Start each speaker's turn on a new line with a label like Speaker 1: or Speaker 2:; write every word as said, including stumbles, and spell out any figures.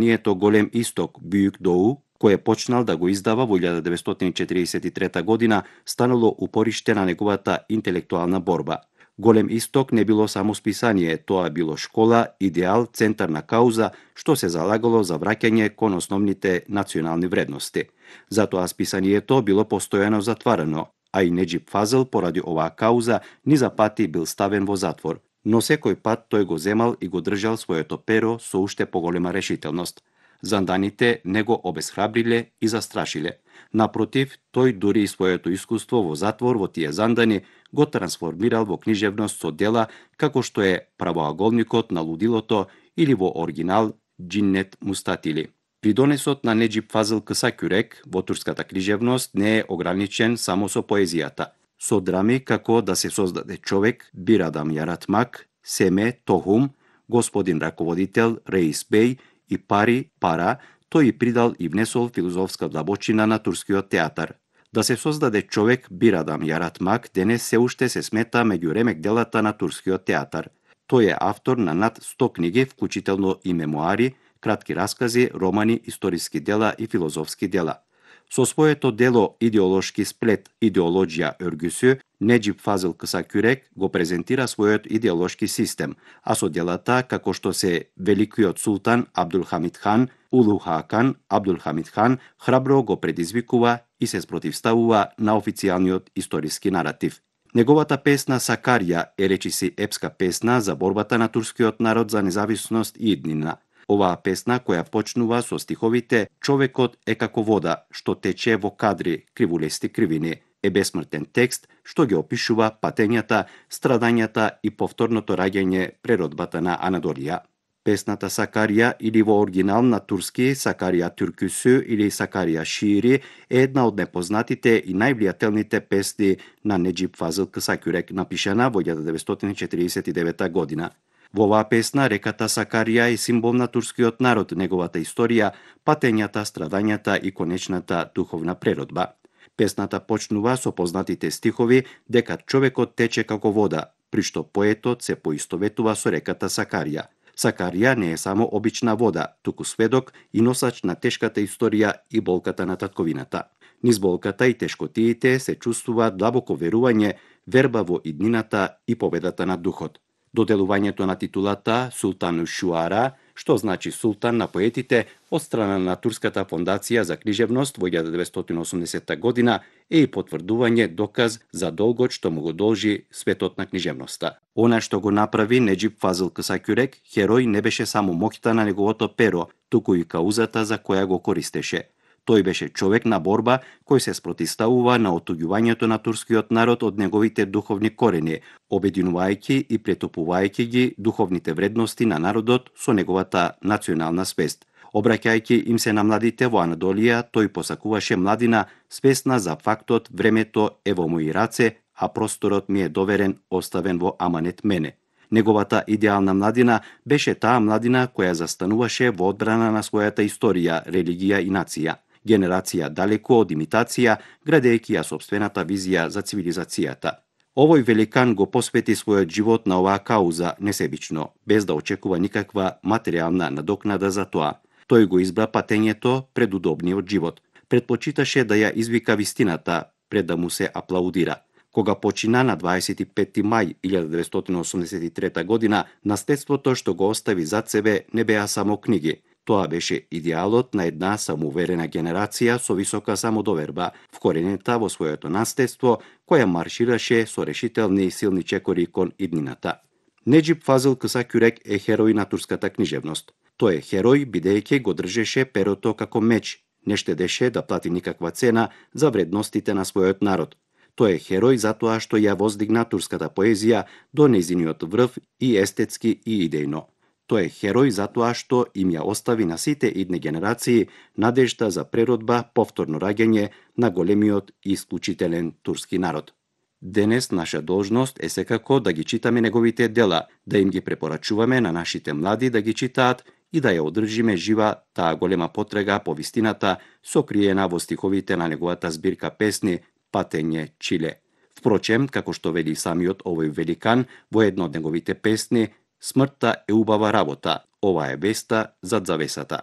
Speaker 1: Нието Голем исток Бюјк Доу, кој е почнал да го издава во илјада деветстотини четириесет и трета година, станало упориште на неговата интелектуална борба. Голем исток не било само списание, тоа било школа, идеал, центар на кауза, што се залагало за враќање кон основните национални вредности. Затоа списанието било постојано затварано, а и Неџип Фазел поради оваа кауза низа пати бил ставен во затвор, но секој пат тој го земал и го држал своето перо со уште поголема решителност. Занданите не го обесхрабриле и застрашиле. Напротив, тој дури и своето искуство во затвор во тие зандани го трансформирал во книжевност со дела како што е Правоаголникот на лудилото или во оригинал Џиннет Мустатили. Придонесот на Неџип Фазел Кысакюрек во турската книжевност не е ограничен само со поезијата. Со драми како Да се создаде човек, Бир Адам Јаратмак, Семе, Тохум, Господин раководител, Реис Беј и Пари, Пара, тој и придал и внесол филозофска длабочина на турскиот театар. Да се создаде човек, Бир Адам Јаратмак, денес се уште се смета меѓу ремек делата на турскиот театар. Тој е автор на над сто книги, вклучително и мемуари, кратки раскази, романи, историски дела и филозофски дела. Со своето дело Идеолошки сплет, Идеологија Örgüsü, Неџип Фазел Кысакюрек го презентира својот идеолошки систем, а со делата како што се Великиот султан Абдулхамид хан, Улу Хакан, Абдулхамид хан, храбро го предизвикува и се спротивставува на официјалниот историски наратив. Неговата песна Сакарија е речиси епска песна за борбата на турскиот народ за независност и иднина. Оваа песна, која почнува со стиховите "Човекот е како вода, што тече во кадри, кривулести кривини", е бесмртен текст што ги опишува патењата, страдањата и повторното раѓање преродбата на Анадолија. Песната Сакарија или во оригинал на турски Сакарија Türküsü или Сакарија Шири е една од непознатите и највлијателните песни на Неџип Фазел Кысакюрек, напишана во илјада деветстотини четириесет и девета година. Во оваа песна реката Сакарија е символ на турскиот народ, неговата историја, патењата, страдањата и конечната духовна преродба. Песната почнува со познатите стихови дека човекот тече како вода, при што поетот се поистоветува со реката Сакарија. Сакарија не е само обична вода, туку сведок и носач на тешката историја и болката на татковината. Низ болката и тешкотиите се чувствува длабоко верување, верба во иднината и победата на духот. Доделувањето на титулата Султан Шуара, што значи султан на поетите, од страна на Турската фондација за книжевност во илјада деветстотини и осумдесета година е и потврдување доказ за долгот што му го должи светот на книжевноста. Она што го направи Неџип Фазел Кысакюрек, херој не беше само моќта на неговото перо, туку и каузата за која го користеше. Тој беше човек на борба кој се спротивставува на отуѓувањето на турскиот народ од неговите духовни корени, обединувајќи и претопувајќи ги духовните вредности на народот со неговата национална свест. Обраќајќи им се на младите во Анадолија, тој посакуваше младина свесна за фактот времето е во мои раце, а просторот ми е доверен, оставен во аманет мене. Неговата идеална младина беше таа младина која застануваше во одбрана на својата историја, религија и нација. Генерација далеко од имитација, градејќи ја собствената визија за цивилизацијата. Овој великан го посвети својот живот на оваа кауза несебично, без да очекува никаква материјална надокнада за тоа. Тој го избра патењето пред удобниот живот. Предпочиташе да ја извика вистината пред да му се аплаудира. Кога почина на дваесет и петти мај илјада деветстотини и осумдесет и трета година, наследството што го остави зад себе не беа само книги. Тоа беше идеалот на една самоуверена генерација со висока самодоверба, вкоренета во своето наследство, која маршираше со решителни и силни чекори кон иднината. Неџип Фазел Кысакюрек е херој на турската книжевност. Тој е херој бидејќи го држеше перото како меч, не штедеше да плати никаква цена за вредностите на својот народ. Тој е херој затоа што ја воздигна турската поезија до нејзиниот врв и естетски и идејно. Тој е херој затоа што им ја остави на сите идни генерации надежда за преродба, повторно раѓање на големиот и исклучителен турски народ. Денес наша должност е секако да ги читаме неговите дела, да им ги препорачуваме на нашите млади да ги читаат и да ја одржиме жива таа голема потрега по вистината сокриена во стиховите на неговата збирка песни Патење Чиле. Впрочем, како што вели самиот овој великан во едно од неговите песни, смртта е убава работа, ова е веста зад завесата.